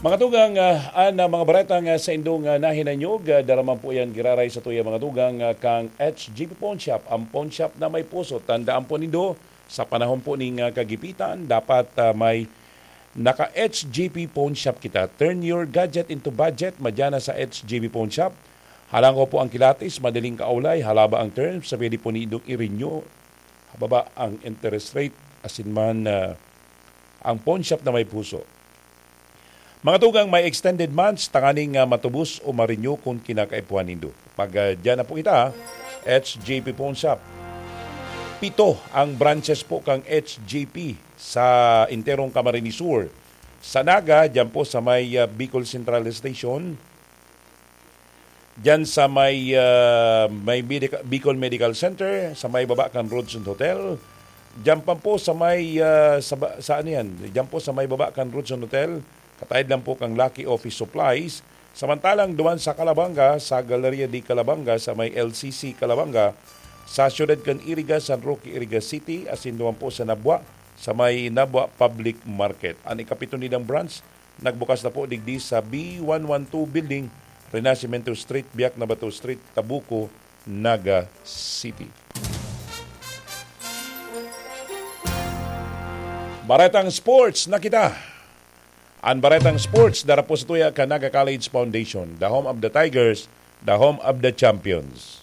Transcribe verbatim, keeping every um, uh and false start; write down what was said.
Mga tugang, ah, an, ah, mga baretang, ah, sa indong, ah, nahinanyog, ah, daraman po yan giraray sa tuya, mga tugang, ah, kang H G P Pawn Shop, ang pawn shop na may puso. Tandaan po nindo, sa panahon po ning, ah, kagipitan, dapat, ah, may naka-H G P Pawn Shop kita. Turn your gadget into budget, madya na sa H G P Pawn Shop. Halang ko po ang kilatis, madaling kaulay, halaba ang terms, sa pwede po nindong i-renew, hababa ang interest rate, asin man, ah, ang pawn shop na may puso. Mga tugang, may extended months, tanganing, ah, matubos o ma-renew kun kinakaipuhan nindo. Pag, ah, dyan na po kita, H G P Pawn Shop. Pito ang branches po kang H G P sa enterong Camarines Sur. Sa Naga, dyan po sa may, ah, Bicol Central Station. Dyan sa may, ah, may Medica-, Bicol Medical Center, sa may baba kan Roodson Hotel. Dyan pa po sa may, ah, sa ba-, sa ano yan? Dyan po sa may baba kan Roodson Hotel, kataid lang po kang Lucky Office Supplies. Samantalang duman sa Calabanga, sa Galleria de Calabanga, sa may L C C Calabanga, sa siyudad kan Iriga, San Roque, Iriga City, asin duman po sa Nabua, sa may Nabua Public Market. An ikapito nindang branch, nagbukas na po digdi sa B one one two Building, Renacimiento Street, Biak na Bato Street, Tabuco, Naga City. Baretang Sports na kita. An Baretang Sports, dara po sa tuya kan Naga College Foundation, the home of the Tigers, the home of the champions.